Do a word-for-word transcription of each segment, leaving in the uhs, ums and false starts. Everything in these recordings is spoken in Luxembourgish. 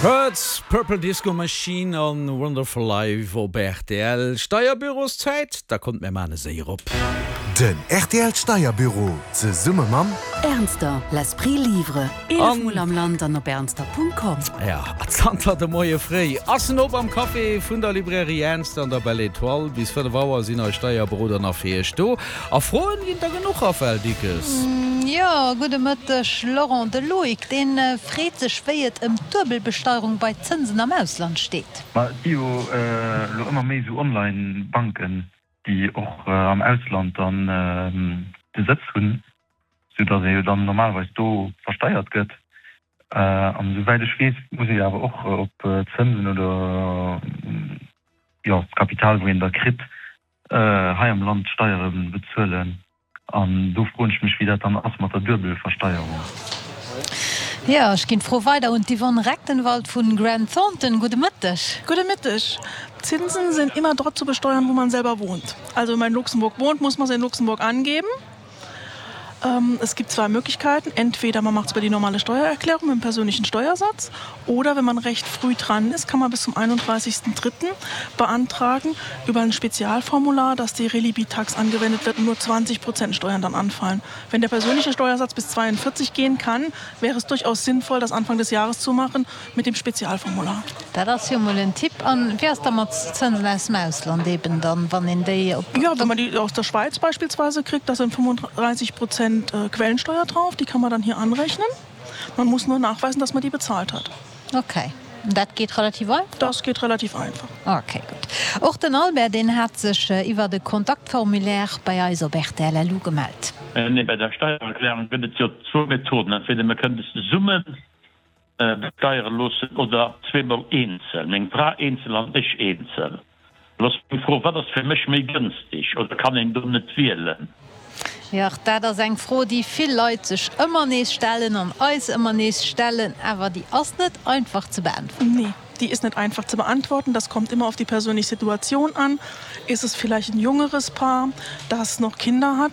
Hurts, Purple Disco Machine an Wonderful Life op rtl. Steierbüroszäit? Da kommt mir maan e Séier op. Den rtl Steierbüro zesumme mam. Ernster, l'esprit livre. Eelef Mol am Land an op ernster.com. Ja, zanter de Moie fréi ass en op am Café vun der Librairie Ernster an der Belle Etoile. Bis fënnef Auer sinn eis Steierberoder nach fir iech do. A Froen ginn der genuch, Raphaëlle Dickes. Jo, gudde Mëtteg Laurent. De Loïc, dee freet sech wéi et ëm d'Duebelbesteierung bei Zënsen am Ausland steet. Ma et gi jo elo ëmmer méi esou Online-Banken, déi och am Ausland dann de Sëtz hunn, sou datt ee jo dann normalerweis do versteiert gëtt. An esou wäit ech weess, muss ee jo awer och op Zënsen oder jo d'Kapital, wou een da kritt, hei am Land Steiere bezuelen. An do froen ech mech, wéi dat dann ass mat der Duebelversteierung. Jo, ech ginn d'Fro weider un d'Yvonne Recktenwald vun Grant Thornton. Gudde Mëtteg. Gudde Mitteg. Zinsen sind immer dort zu besteuern, wo man selber wohnt. Also wenn man in Luxemburg wohnt, muss man es in Luxemburg angeben. Ähm, es gibt zwei Möglichkeiten. Entweder man macht es über die normale Steuererklärung mit dem persönlichen Steuersatz oder wenn man recht früh dran ist, kann man bis zum einunddreißigsten dritten beantragen über ein Spezialformular, dass die Relibi-Tax angewendet wird und nur zwanzig Prozent Steuern dann anfallen. Wenn der persönliche Steuersatz bis zweiundvierzig gehen kann, wäre es durchaus sinnvoll, das Anfang des Jahres zu machen mit dem Spezialformular. Dat ass jo mol en Tipp. An wéi ass da mat Zënsen aus dem Ausland eben dann, wann een déi op. Jo, wenn man die aus der Schweiz beispielsweise kriegt, da sind fünfunddreißig Prozent Quellensteuer drauf, die kann man dann hier anrechnen. Man muss nur nachweisen, dass man die bezahlt hat. Okay. An dat geet relativ einfach? Das geht relativ einfach. Okay, gutt. Och den Albert, deen hat sech iwwert e Kontaktformulaire bei eis op rtl LU gemellt. Nee, bei der Steiererklärung gëtt et jo zwou Methoden, entweder mir kënnen es zesummen besteiere loossen oder zweemol eenzel, meng Fra eenzel an ech eenzel. Elo ass meng Fro, Wat ass fir mech méi gënstig oder kann een do net wielen? Jo, dat ass eng Fro, déi vill Leit sech ëmmer nees stellen an eis ëmmer nees stellen, awer déi ass net einfach ze beäntwerten. Nee, die ist net einfach zu beantworten. Das kommt immer auf die persönliche Situation an. Ist es vielleicht ein jüngeres Paar, das noch Kinder hat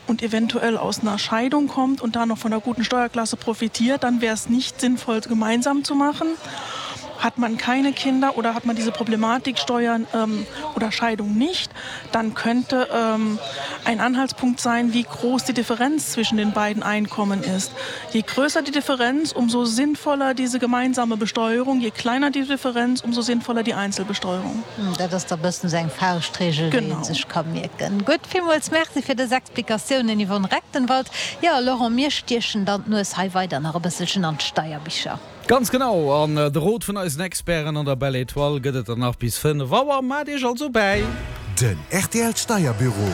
und eventuell aus einer Scheidung kommt und da noch von einer guten Steuerklasse profitiert, dann wäre es nicht sinnvoll, gemeinsam zu machen. Hat man keine Kinder oder hat man diese Problematik Steuern ähm, oder Scheidung nicht, dann könnte ähm, ein Anhaltspunkt sein, wie groß die Differenz zwischen den beiden Einkommen ist. Je größer die Differenz, umso sinnvoller diese gemeinsame Besteuerung, je kleiner die Differenz, umso sinnvoller die Einzelbesteuerung. Dat ass da bëssen esou eng Fauschtregel, déi ee sech ka mierken. Gutt, villmools Merci fir dës Explikatiounen, Yvonne Recktenwald. Jo, Laurent, mir stiechen dann d'Nues hei weider nach e bësselchen an d'Steierbicher. Ganz genau, an de Rot vun eisen Experten an der Belle Etoile gëtt et dann nach bis fënnef Auer. Maacht Iech also bäi! Den rtl Steierbüro.